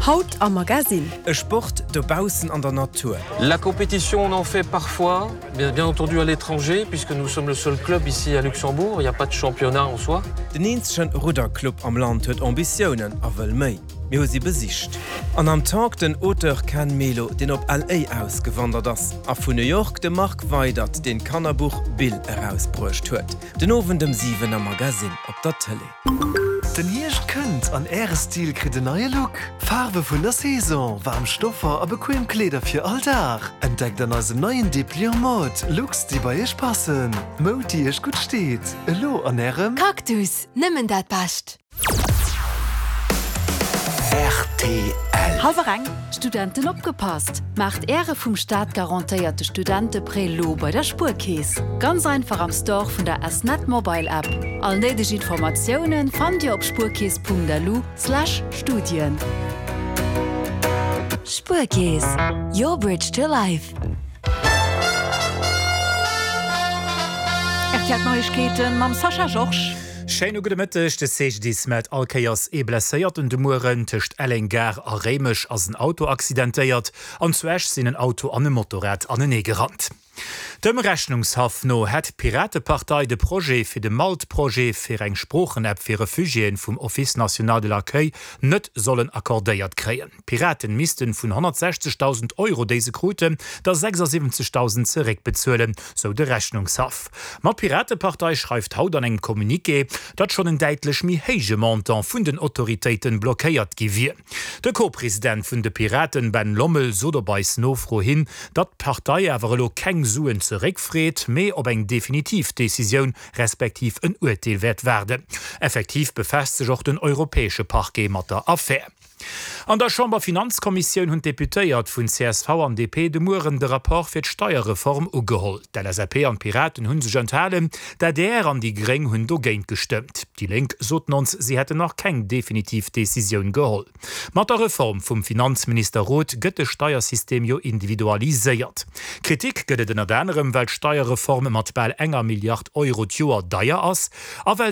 Haut am Magasinn. E Sport dobaussen an der Natur. La compétition on en fait parfois, bien bien entendu à l'étranger puisque nous sommes le seul club ici à Luxembourg, il n'y a pas de championnat en soi. Den eenzegen Rudderclub am Land huet Ambitiounen a wëll méi. Mir hu si besicht. An am Talk den Auteur Ken Melo, deen op LA ausgewandert ass. A vun New York de Marc Weydert, deen d'Kannerbuch Bill erausbruecht huet. Den Owend ëm 7 am Magasinn op der Tëlee. Den Hierscht kënnt an Äre Stil kritt en neie Look! Faarwe vun der Saison, waarm Stoffer a bequem Kleeder fir all Dag. Entdeckt an eisem neien Dépliant Mode Looks, déi bei Iech passen. Moud, déi Iech gutt steet. Elo an Ärem. Cactus, nëmmen dat Bescht! Rtl. Hallwer eng. Studenten opgepasst! Maacht Äre vum Staat garantéierte Studenteprêt lo bei der Spuerkeess. Ganz einfach am Store vun der S-Net Mobile App. All néideg Informatiounen fannt Dir op spuerkeess.lu slash Studien. Spuerkeess, your bridge to life. Rtl Neiegkeeten mam Sascha Georges. Schéine gudde Mëtteg. De CGDIS mellt all Kéiers ee Blesséierten de Mueren. Tëscht Elleng Gare a Réimech ass en Auto accidentéiert an zu Esch sinn en Auto an e Motorrad anenee gerannt. Dem Rechnungshaff no hätt d'Piratepartei de Projet fir de Malt-Projet fir eng Sproochen-App fir Refugiéen vum Office national de l'accueil net sollen accordéiert kréien. D'Piraten missten vun 160.000 Euro, déi se kruten, der 76.000 zeréckbezuelen, sou de Rechnungshaff. Ma d'Piratepartei schreift haut an engem Communiqué, datt schonn en däitlech méi héije Montant vun den Autoritéiten blockéiert gi wier. De Co-President vun de Piraten, Ben Lommel, sot op eis Nofro hin, datt d'Partei awer elo keng Suen zeréckfreet, mee op eng definitiv Decisioun respektiv en Urteel wäert waarden. Effektiv befaasst sech och den europäesche Parquet mat der Affär. An der Chamberfinanzkommissioun hunn d'Deputéiert vun csv an DP de Mueren de Rapport fir d'Steierreform ugeholl. D'LSAP an d'Piraten hu sech enthalen, d'ADR an déi Gréng hunn dogéint gestëmmt. Déi Lénk soten ons, si hätten nach keng definitiv Decisioun geholl. Mat der Reform vum Finanzminister Roth gëtt de Steiersystem jo individualiséiert. Kritik gëtt et ënnert anerem, well d'Steierreform mat bal enger Milliard Euro d'Joer deier ass a well.